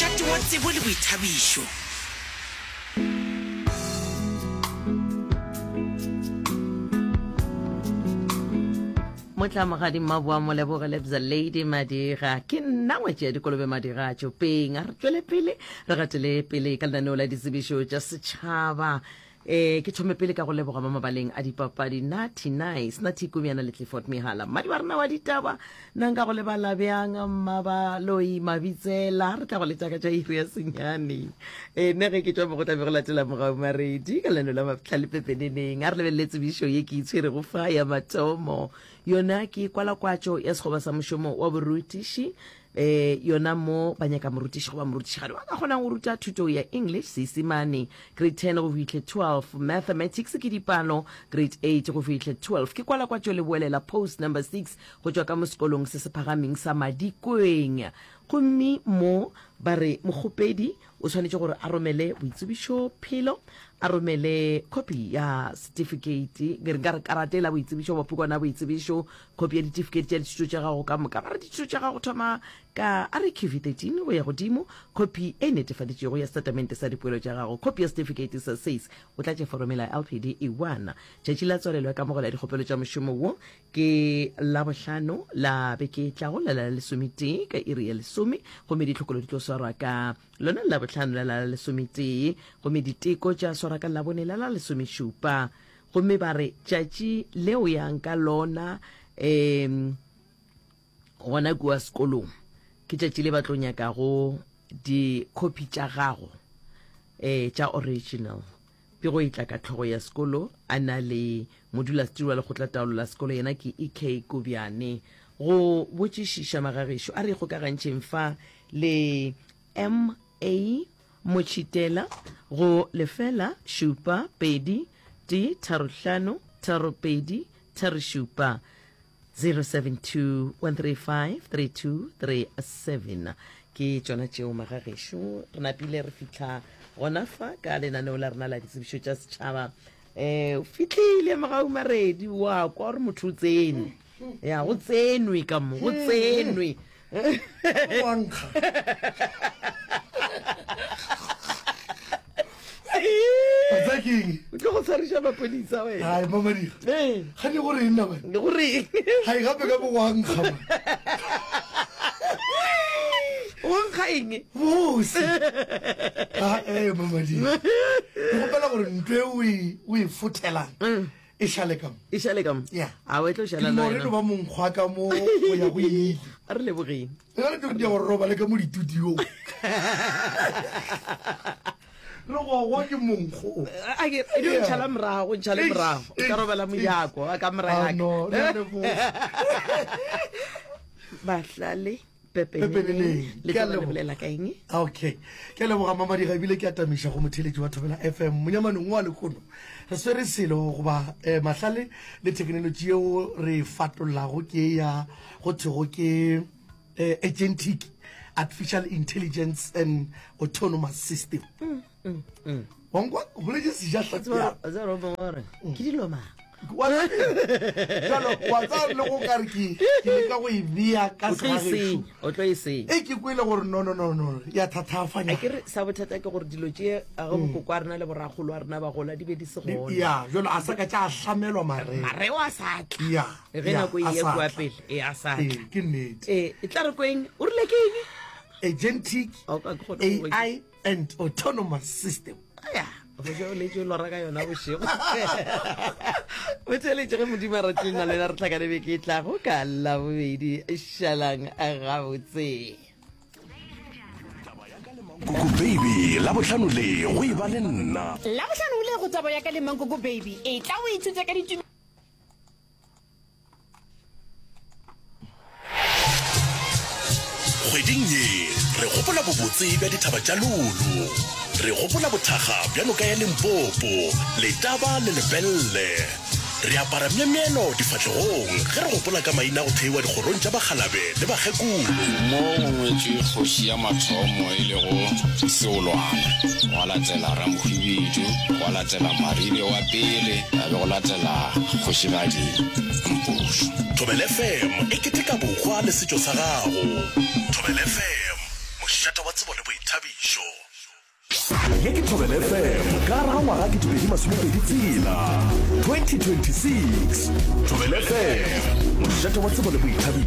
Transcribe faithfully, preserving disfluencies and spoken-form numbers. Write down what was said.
Mošate wa tsebo le boithabišo. Motlamogadi Mmaboa Moleboge Lebza Lady Madira ke nna ngwetši ya dikolobe Madira Tšopeng. A re tšwele pele re gatele pele ka lenaneo la ditsebišo tša setšhaba. E, ke thome pele ka go leboga mo mabaleng a dipapadi Natty Nice, Natty Kumiana le Clifford Mihala. Mmadi wa rena wa ditaba, nna nka go lebala bjang Mmabaloi Mabitsela, re tla go letša ka tša iri ya senyane. E, nna ge ke tšwa mo go tla be go latela Mogau Maredi ka lenaneo la Mahlale Pepeneneng. A re lebelele tsebišo ye ke itshwerego fa ya mathomo. Yona ke kwalakwatšo ya sekgoba sa mošomo wa borutiši. E, yona mo ba nyaka morutiši goba morutišigadi wa ka kgonang go ruta thuto ya English, Seisemane, grade ten go fihle twelve, Mathematics ke dipalo, grade eight go fihle twelve. Ke kwalakwatšo leboelela post number six go tšwa ka mo sekolong se se phagameng sa Madikweng. Gomme mo ba re mokgopedi o swanetše gore a romele boitsebišo phelo, a romele khopi ya setifikeiti, ke re nka re karata e la boitsebišo goba pukwana ya boitsebišo, khopi ya ditifikeiti tša dithuto tša gago ka moka. Ba re dithuto tša gago thoma ka R Q V thirteen go ya godimo, khopi e netefaditšwego ya setatamente sa dipoelo tša gago, khopi ya setifikeiti sa S A S, o tlatše foromela ya L P D E one. Tšatši la tswalelo ya kamogelo ya dikgopelo tša mošomo wo ke Labohlano la beke e tlago la la lesometee ka iri ya lesome, gomme ditlhokolo di tlo swarwa ka lona Labohlano la la lesometee, gomme diteko tša swarwa ka Labone la la lesomešupa. Gomme ba re tšatši leo yang ka lona um gona kua sekolong ke tšatši le ba tlo nyakago dikhopi tša gago um tša original. Pego e tla ka hlogo ya sekolo a na le modulasetiri wa lekgotlataolo la sekolo, yena ke E K Kobjane. Go botšišiša magagešo a re ikgokagantšheng fa le M A Motšhitela go lefela šupa pedi tee tharo hlano tharo pedi tharo šupa, zero seven two one three five three two three seven. Ke tšona tšeo magagešo re napile re fihla gona fa ka lenaneo la rena la ditsebišo tša setšhaba. Eh, o fihlile Mogau Maredi, wa kwa gore motho o tsene. Ya, go tsenwe ka mo, go tsenwe. Wa nkga. Wa tseba ke eng? O tlo go tshwariša maphodisa wena. Hai, Mamadira. Ee. Ga ne go reng nna bana? Ne go reng? Hai, gape ka mo go a nkga man. Go nkga eng? Bose. Ah, eh, Mamadira. Ke kgopela gore ntho e o e, o e fothelang e šale ka mo. E šale ka mo? Yeah. A o e tlo šala le Ke wena. no ba monkgwa ka mo go ya go ile. A re lebogeng. E ka re tlo gore robale ka mo ditudiong. Re gogwa ke monkgo. A ke e dio ntšhala morago, ntšhale morago. O ka robala mojako, a ka mora Ah, ya ka. no, re a leboga. Bahlale pepeneneng. Pepeneneng. Le Ke a tlo ba le leboga. bolela ka eng? Okay. Ke a leboga Mamadira ebile ke atamiša go motheeletši wa Thobela F M. Monyamanong wa lehono re swere selo goba, eh, mahlale le thekenolotši yeo re e fatollago ke ya go thwego ke, eh, agentic artificial intelligence and autonomous system. Mm, mm, mm. Wa nkwa? O boletše sejahlapi Tseba, tseba o mongwe o re, ke dilo mang? Wa tseba, wa tseba le go ka re ke, ke leka go e bea ka O tlo e segagešo. senya, o tlo e senya. E ke kwele gore no, no, no, no, ya thathafanya. A ke re sa bothata ke gore dilo tše a ge bokoko a rena le borakgolo a rena ba gola di be di se Di- gona. Ya, jalo a sa ka tša hlamelwa mareo. Mareo a sa tla. Ya, Ge ya, nako e a ye sa kua tla. pele, e a sa Ee, tla. ke nnete. Ee, e tla re kweng, o rile ke eng? Agentic O ka ke kgone go- A I and autonomous system. Ya, go ja o letše o lora ka yona bošego. O theeletše ge Modimo a ratile nna le wena re hlakane beke e tlago ka Labobedi. Šalang gabotse. Taba ya ka le Mankoko Baby, Labohlano le go e ba le nna. Labohlano le go Taba ya ka le Mankoko Baby, e tla o ithute ka ditumelo. Kgweding ye re gopola bobotse bja dithaba tša Lulu. Re gopola bothakga bja noka ya Limpopo, Letaba le Lepelle. Re apara myemyelo difahlegong ge re gopola ka maina a go theiwa dikgorong tša bakgalabe le bakgekolo. Mo go ngwetšwe kgoši ya mathomo e lego Seolwana, gwa latela Ramohwibidu, gwa latela Maribe wa pele, ya be go latela kgošigadi Mpušo. Thobela F M e keteka bohwa le setšo sa gago. Thobela F M, mošate Mošate wa tsebo le boithabišo. Ye ke Thobela F M ka gare ga ngwaga ketepedi masomepedi tshela, twenty twenty six. Thobela F M, mošate wa tsebo le boithabišo.